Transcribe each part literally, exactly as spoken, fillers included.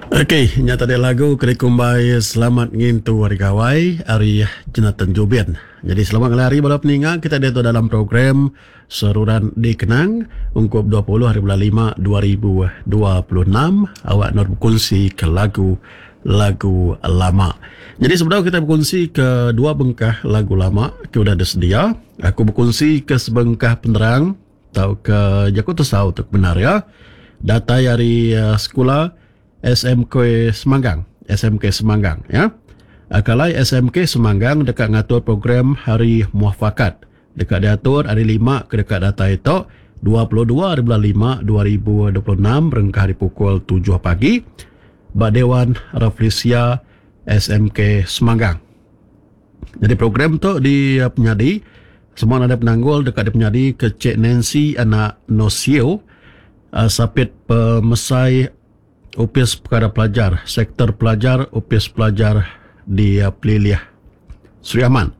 Okey, nya tadi lagu ke dikumbai Selamat Ngintu Hari Gawai ari Jonathan Jubin. Jadi selamat ngalih hari bala peninga kita diatu dalam program Seruran Dikenang ungkup dua puluh hari bulan lima dua ribu dua puluh enam awak endur bekunsi ke lagu lagu lama. Jadi sebedau kita bekunsi ke dua bengkah lagu lama ke udah disedia, aku bekunsi ke sebengkah penerang tauka jaku tesau tu ke benar ya. Datai ari sekula S M K Semanggang, S M K Semanggang ya. Kalai S M K Semanggang deka ngatur program Hari Muafakat. Deka diatur hari lima ke deka datai tu dua puluh dua hari bulan lima dua ribu dua puluh enam berengkah hari pukul tujuh pagi ba Dewan Rafflesia S M K Semanggang. Jadi program tu di penyadi semua ada penanggul deka dipenyadi ke Cik Nancy anak Nosio, sapit pemesai Opis Perkara Pelajar, Sektor Pelajar, Opis Pelajar di Pelilih Sri Aman.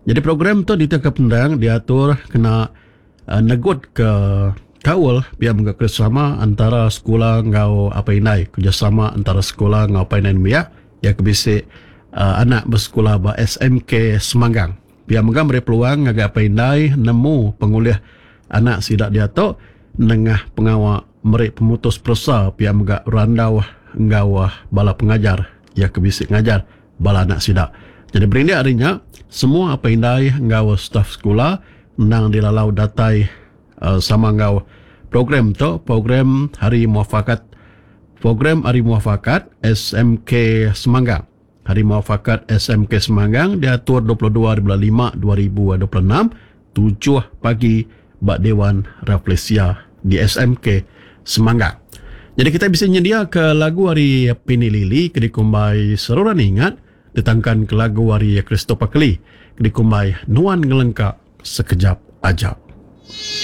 Jadi program tu diteka penerang diatur kena uh, negut ke kaul biar mengga kerjasama antara sekolah ngau apa indai, kerjasama antara sekolah ngau apa indai nembiak ya ke bisi uh, anak bersekolah ba S M K Semanggang. Biar mengga beri peluang ngagai apa indai nemu pengulih anak sidak diatu nengah pengawak meri pemutus peresa pia mega randau enggau bala pengajar ya ke bisi ngajar bala anak sida. Jadi berindik hari nya semua apa indai enggau staf sekolah endang dilalau datai uh, sama enggau program tu, program Hari Muafakat, program Hari Muafakat S M K Semanggang. Hari Muafakat S M K Semanggang diatur dua puluh dua hari bulan lima dua ribu dua puluh enam tujuh pagi ba Dewan Rafflesia di S M K Semanggang. Jadi kita bisa nyedia ke lagu hari Pini Lily ke dikumbai Seruran Ingat, ditangkan ke lagu hari Christopher Keli ke dikumbai Nuan Ngelengka Sekejap Aja.